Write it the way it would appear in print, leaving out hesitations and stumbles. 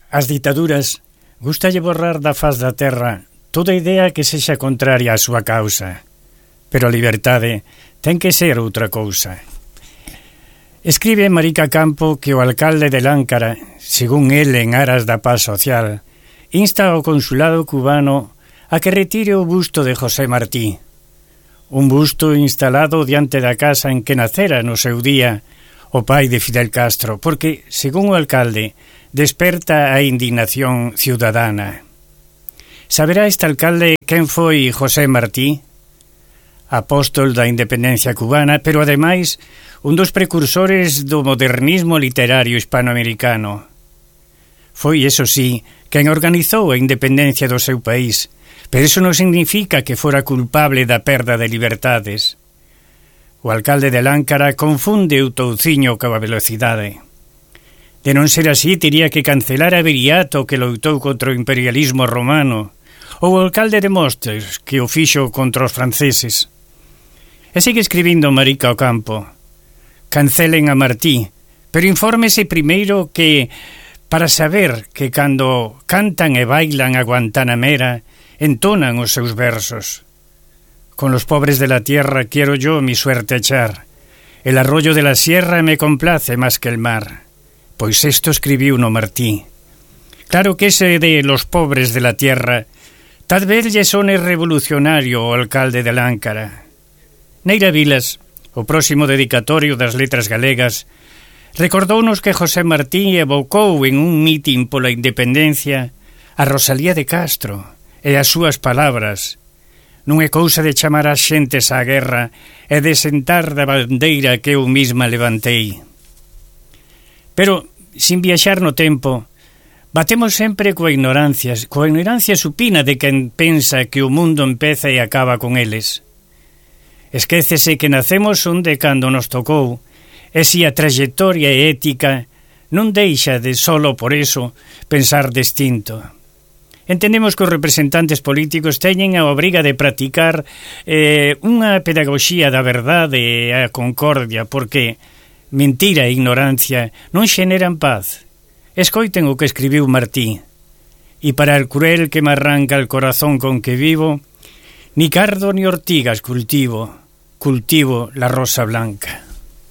As ditaduras gustalle borrar da faz da terra toda idea que sexa contraria á súa causa, pero a liberdade ten que ser outra cousa. Escribe Marica Campo que o alcalde de Láncara, según el en aras da paz social, insta ao consulado cubano a que retire o busto de José Martí, un busto instalado diante da casa en que nacera no seu día o pai de Fidel Castro, porque, según o alcalde, desperta a indignación ciudadana. Saberá este alcalde quen foi José Martí? Apóstol da independencia cubana, pero ademais un dos precursores do modernismo literario hispanoamericano. Foi, eso sí, quen organizou a independencia do seu país, pero iso non significa que fora culpable da perda de liberdades. O alcalde de Láncara confunde o touciño coa velocidade. De non ser así, tería que cancelar a Viriato que loitou contra o imperialismo romano, ou o alcalde de Mostres que o fixo contra os franceses. E sigue escribindo Marica Campo: cancelen a Martí, pero infórmese primeiro que, para saber que cando cantan e bailan a Guantanamera, entonan os seus versos. Con los pobres de la tierra quiero yo mi suerte echar. El arroyo de la sierra me complace más que el mar. Pois esto escribiu no Martí. Claro que ese de los pobres de la tierra tal vez lle sone revolucionario o alcalde de Láncara. Neira Vilas, o próximo dedicatorio das letras galegas, recordounos que José Martí evocou en un mitin pola independencia a Rosalía de Castro e as súas palabras: non é cousa de chamar as xentes á guerra e de sentar da bandeira que eu mesma levantei. Pero, sin viaxar no tempo, batemos sempre coa ignorancia supina de quen pensa que o mundo empeza e acaba con eles. Esquécese que nacemos onde cando nos tocou, e si a trayectoria e ética non deixa de solo por eso pensar distinto. Entendemos que os representantes políticos teñen a obriga de practicar unha pedagogía da verdade e a concordia, porque mentira e ignorancia non xeneran paz. Escoiten o que escribiu Martí: y para el cruel que me arranca el corazón con que vivo, ni cardo ni ortigas cultivo la rosa blanca.